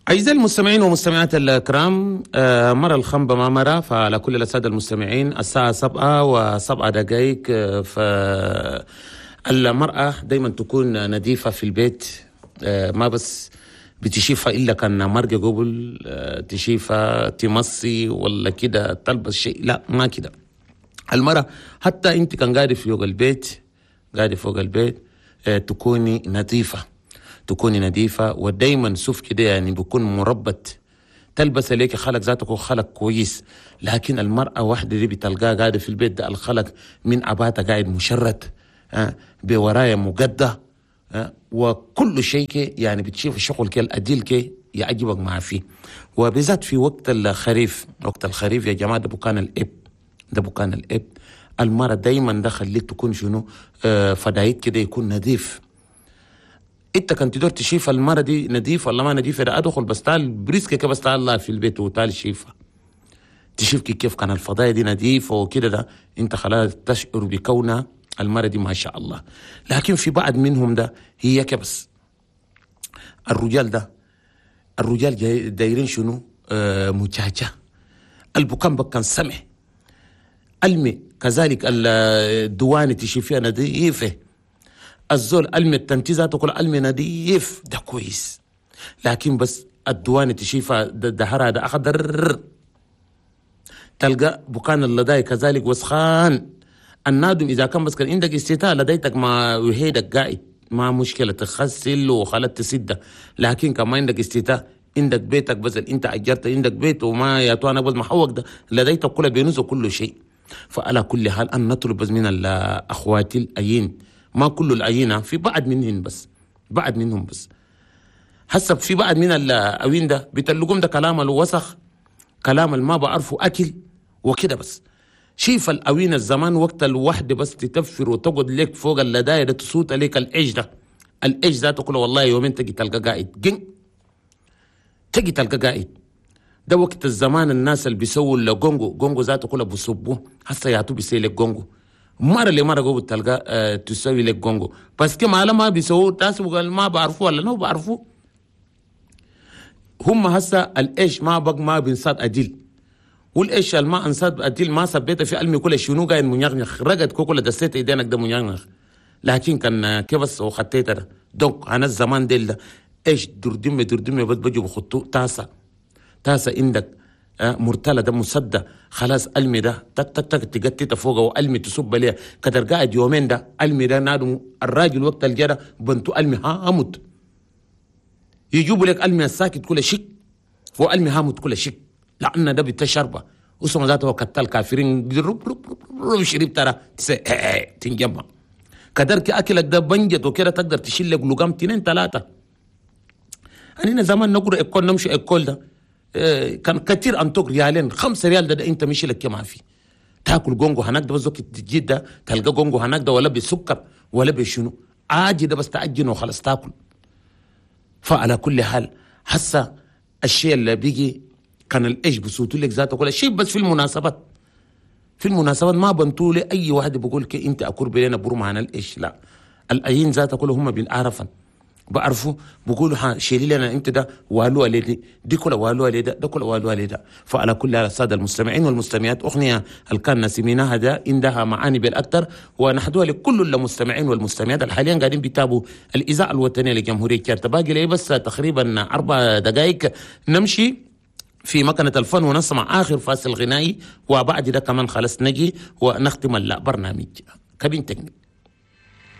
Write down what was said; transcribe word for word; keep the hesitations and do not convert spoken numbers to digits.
أعزائي المستمعين والمستمعات الكرام، آه، مرة الخنبة ما مرة. فعلى كل السادة المستمعين الساعة سبعة وسبعة دقائق. آه، فالمرأة دايما تكون نظيفة في البيت، آه، ما بس بتشيفها إلا كان مرقة قبل آه، تشيفها تمصي ولا كده تلبس شيء، لا ما كده. المرأة حتى أنت كان قاعدة فوق البيت، قاعدة فوق البيت آه، تكوني نظيفة، تكوني نظيفة ودايما سوف كده يعني بيكون مربط، تلبس ليك خلق ذاتك خلق كويس. لكن المرأة واحدة دي بتلقاها قاعدة في البيت ده الخلق من عباتها قاعد مشرد، آه، بورايا مقدة، آه، وكل شيء كي يعني بتشوف الشغل كي الأديل كي يعجبك مع فيه. وبالذات في وقت الخريف، وقت الخريف يا جماعة ده بكان الإب، ده بكان الإب. المرأة دايما ده خليك تكون شنو آه، فدايت كده يكون نظيف. انت كنت تدور تشيف المرة دي نظيف ولا ما نظيفة، ده ادخل بس تعال بريسك كده، بس تعال الله في البيت وتعال شيفها، تشوف كيف كان الفضايا دي نظيفة وكده، ده انت خلاص تشعر بكونها المرة دي ما شاء الله. لكن في بعض منهم ده هي كبس الرجال ده، الرجال جاي دايرين شنو آه مجاجة، البكان بكان سمح المي كذلك الدواني تشوفيها نظيفة، الزول المي التنتيزات كل المي نظيف ده كويس. لكن بس الدواني تشيفها دهرها ده أخضر، تلقى بكان اللداي كذلك وسخان. النادم إذا كان بس كان عندك استيتاء لديتك ما وهيدك قاعد ما مشكلة تغسل وخلت تسده، لكن كما عندك استيتاء عندك بيتك بس انت اجرت عندك بيت وما يا تو انا بس محوق ده لديتك كل بينوز وكل شيء. فعلى كل حال أن نطلب بس من الأخوات الأيين، ما كل الأيين، في بعض منهن بس، بعض منهم بس حسب في بعض من الأوين ده بتلقوم ده كلام الوسخ، كلام ما بعرفه أكل وكده بس. شيف الأوين الزمان وقت الوحدة بس تتفر وتقعد لك فوق اللداية ده تصوت لك العيش ده، العيش ذاته كله والله يومين تجي تلقى قاعد جن، تجي تلقى قاعد. ده وقت الزمان الناس اللي بيسووا الجونجو، جونجو ذاته كله بيصبوه هسه يعطوا بيسوي لك جونجو، مرة اللي مرة قبل تلقى اه تسوي لك جونجو بس كما ما بيسووا تاس وقال ما بعرفوا ولا نو بعرفوا هم. هسه الإيش ما بق ما بنصاد أديل، والإيش ما انصاد أديل ما سبيته في علمي كل شنو قاعد منيغنخ رقد كوكولا دسيت ايدينك ده منيغنخ. لكن كان كيف وخطيت ده دونك انا الزمان ديل ده ايش دردمي دردمي بس بجوا بخطو تاسع تاسع عندك مرتلة ده مصدى خلاص المي ده تك تك تك تقتت فوقه والمي تصب ليه كتر قاعد يومين ده المي ده نادم الراجل وقت الجرى بنتو المي ها اموت يجيبوا لك المي الساكت كل شيء والمي هامت كل شيء لان ده بتشربه وسما ذاته كتل كافرين رب رب رب رب شرب ترى تنجمع كدرك اكلك ده بنجت وكده تقدر تشيل لك لقام تنين ثلاثة. انا زمان نقرا اكل نمشي اكل ده كان كثير انتوك ريالين خمسة ريال ده, ده انت مشي لك ما في تاكل جونجو هناك ده بس تجي ده تلقى جونجو هناك ده ولا بسكر ولا بشنو عاجي ده بس تعجن وخلاص تاكل. فعلى كل حال هسه الشيء اللي بيجي كان الايش بصوتوا لك ذاته كل شيء بس في المناسبات، في المناسبات ما بنتوا لي اي واحد بيقول لك انت اكور بلينا برو معنا الايش، لا الايين ذاته كله هم بالعرفن بعرفوا بقولوا ها شيلي لنا انت ده والو علي دي, دي كله والو علي ده ده كله والو علي ده. فعلى كل السادة المستمعين والمستمعات اغنية الكان سميناها ده عندها معاني بالاكثر ونحدوها لكل المستمعين والمستمعات حاليا قاعدين بيتابعوا الاذاعة الوطنية لجمهوريه كارتا. باقي لي بس تقريبا اربع دقائق نمشي في مكنة الفن ونسمع آخر فاصل غنائي وبعد ده كمان خلاص نجي ونختم البرنامج. كابين تكنيك.